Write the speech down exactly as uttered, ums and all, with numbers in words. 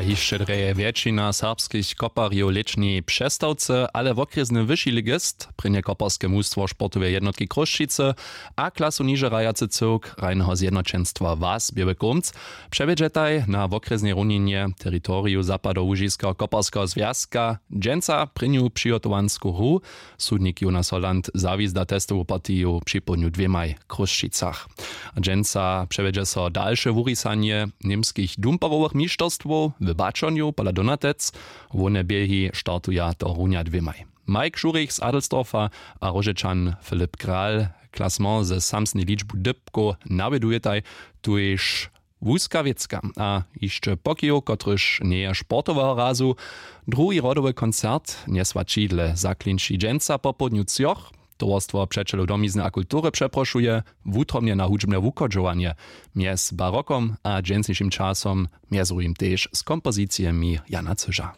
Hišće drje wjetšina serbskich koparjow w lěćnej přestawce, ale wokrjesny wyši ligist, prěnje koparske mustwo sportoweje jednotki Chrósćicy a klasu niže hrajacy cyłk hrajneho zjednoćenstwa was běły kómc, přewjedźetaj na wokrjesnej runinje teritoriju zapadołužiskeho koparskeho zwjazka dźensa prěnju přihotowansku hru. Sudnik jonas holland zawizda testowu partiju připołdnju dwěmaj w chrósćicach. Dźensa přewjedźe so dalše wurisanje němskich dumperowych mišterstwow w baćonju pola donatec. Hłowne běhi startuja to runja dwěmaj. Mike šurich z adelsdorfa a róžečan filip kral. Klasement ze samsnej ličbu dypkow nawjedujetaj. Tuž wuska wěcka a hišće pokijow kotryž njeje sportoweho razu. Druhi rodowy koncert njesła čidle zaklinči dźensa popołdnju třoch. Towarstwo přećelow domizny a kultury přeprošuje wutrobnje na hudźbne wuchodźowanje mjez barokom a dźensnišim časom, mjez druhim tež z kompozicijemi jana cyža.